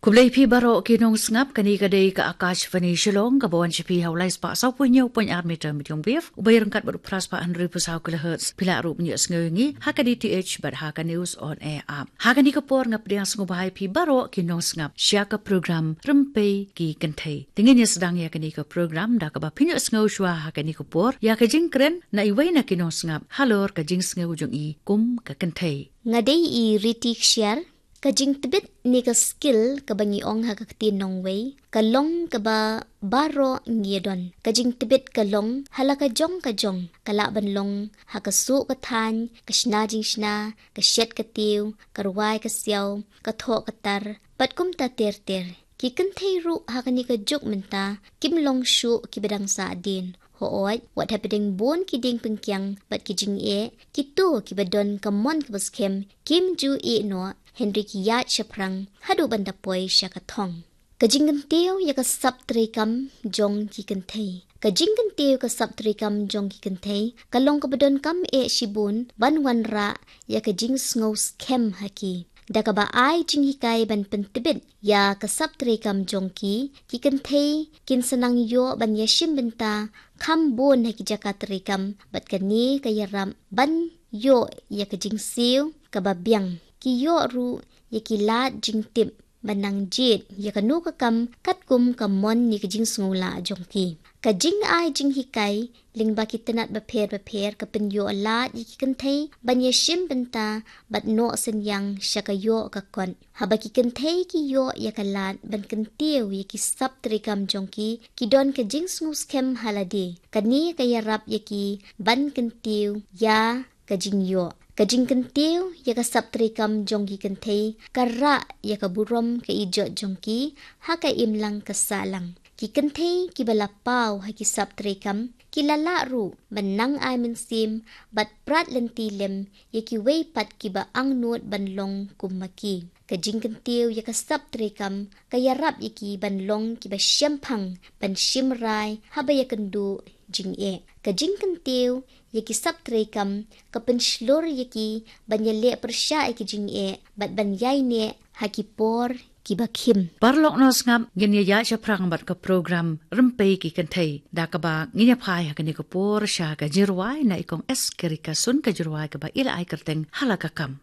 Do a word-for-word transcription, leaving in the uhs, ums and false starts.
Khublei phi baroh ki nongsngap, kane ka dei ka Akashvani Shillong, kaba wan sha phi ha u lai spah saw phew hynñiew point ar meter medium wave, uba ïaryngkat bad u phra spah hynriew phew saw kilohertz. Phi lah ruh ban ïohsngew ïa ngi ha ka D T H bad ha ka News on Air app. Ha kane ka por nga pdiang sngewbha ïa phi baroh ki nongsngap sha ka program Rympei ki Kynthei. Te ngin ïa sdang ïa kane ka program da kaba phin ïohsngew shuwa ha kane ka por ïa ka jingkren na iwei na ki nongsngap halor ka jingsngew jong i kum ka kynthei. Nga dei i Riti Kshiar. Ka jingtbit ne ka skill kaba ngi ong ha ka ktien nongwei, ka long kaba baroh ngi ïa don. Ka jingtbit ka long ha la ka jong ka jong, ka lah ban long ha ka suh ka thaiñ, ka shna jingshna, ka shet ka tiew, ka rwai ka siaw, ka thoh ka tar, bad kumta ter ter. Ki kynthei ruh ha kane ka juk mynta kim long shuh kiba dang sahdien. Hooid, wat hapdeng bun ki dieng pynkiang bad ki jingeh, kito kiba don ka mon kaba skhem kim ju ïeh noh, hynrei ki ïaid shaphrang haduh ban da poi sha ka thong. Ka jingkyntiew ïa ka sap treikam jong ki kynthei. Ka jingkyntiew ka sap treikam jong ki kynthei ka long kaba donkam eh shibun ban wanrah ïa ka jingsngew skhem ha ki. Da kaba ai jinghikai ban pyntbit ïa ka sap treikam jong ki, ki kynthei kin sa nang ïoh ban ïashim bynta kham bun ha ki jaka treikam, bad kane ka ïarap ban ïoh ïa ka jingsiew kaba biang. Ki ïoh ruh ïa ki lad jingtip ban nang jied ïa kano ka kam katkum ka mon ne ka jingsngewlah jong ki. Ka jingai jinghikai lyngba ki tnat bapher bapher ka pynïoh lad ïa ki kynthei ban ïashim bynta bad noh synñiang sha ka ïoh ka kot. Haba ki kynthei ki ïoh ïa ka lad ban kyntiew ïa ki sap treikam jong ki, ki don ka jingsngew skhem ha lade. Kane ka ïarap ïa ki ban kyntiew ïa ka jingïoh. Ka jingkyntiew ïa ka sap treikam jong ki kynthei ka rah ïa ka burom ka ijot jong ki ha ka imlang ka sahlang. Ki kynthei kiba la paw ha ki sap treikam ki la lah ruh ban nang ai mynsiem bad prat lynti lem ïa kiwei pat kiba angnud ban long kum ma ki. Ka jingkyntiew ïa ka sap treikam ka ïarap ïa ki ban long kiba shemphang ban shim rai haba ïakynduh jingeh. Ka jingkyntiew ïa ki sap treikam ka pynshlur ïa ki ban ïaleh pyrshah ïa ki jingeh bad ban ïaineh ha ki por kiba khim. Paralok nongsngap, ngin ïa ïaid shaphrang bad ka program Rympei ki Kynthei, da kaba ngin ïa phai ha kane ka por sha ka jingrwai na i Kong S Kerikasun, ka jingrwai kaba i la ai kyrteng Hala Ka Kam.